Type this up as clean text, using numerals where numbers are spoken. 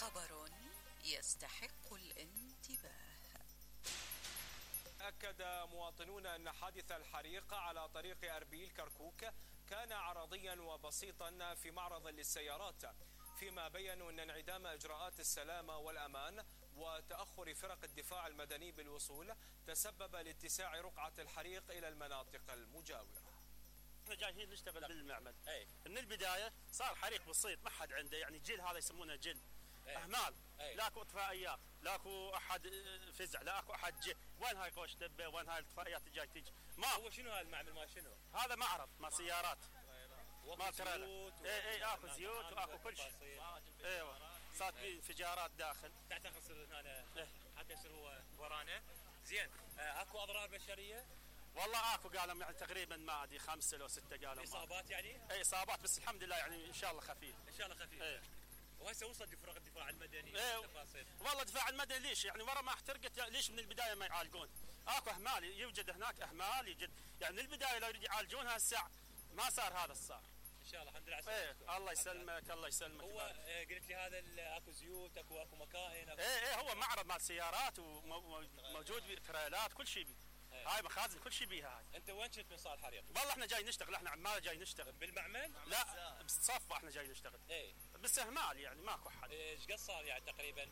خبر يستحق الانتباه. أكد مواطنون أن حادث الحريق على طريق أربيل كركوك كان عرضيا وبسيطا في معرض للسيارات، فيما بيّنوا أن انعدام إجراءات السلامة والأمان وتأخر فرق الدفاع المدني بالوصول تسبب لاتساع رقعة الحريق إلى المناطق المجاورة. احنا جايين نشتغل بالمعمل. من البداية صار حريق بسيط، ما حد عنده يعني جيل، هذا يسمونه جيل. اهمال. لاكو اطفائيات، لاكو احد فزع، لاكو احد جه، وين هاي قوش دبه، وين هاي الاطفائيات جاي تجي؟ ما هو شنو هذا المعمل ما شنو؟ هذا معرض ما سيارات. ما ترى اكو زيوت واكو كل شيء. ايوه صارت في انفجارات داخل. تعتقد يصير هنا حتى يصير هو ورانا؟ زين، اكو اضرار بشريه؟ والله اكو قالوا يعني تقريبا ما ادري 5 أو 6 قالوا. اصابات يعني؟ اي اصابات بس الحمد لله يعني ان شاء الله خفيف. ان شاء الله خفيف. وهسه وصل لفرق الدفاع المدني تفاصيل. والله الدفاع المدني ليش يعني ورا ما احترقت ليش من البدايه ما يعالجون؟ اكو اهمال، يوجد هناك اهمال، يوجد يعني من البدايه لو يريد يعالجونها الساعه ما صار هذا الصار. ان شاء الله الحمد لله على سلامتكم. الله يسلمك الله يسلمك. هو قلت لي هذا اكو زيوت، اكو مكائن، هو معرض مال سيارات وموجود تريلات كل شيء بيه. هاي مخازن كل شيء بيها هاي. انت وين كنت من صار الحريق؟ والله احنا جاي نشتغل، احنا عمال جاي نشتغل. بالمعمل؟ لا بالصفة احنا جاي نشتغل. بس اهمال يعني ماكو حد. ايش قد صار يعني تقريبا؟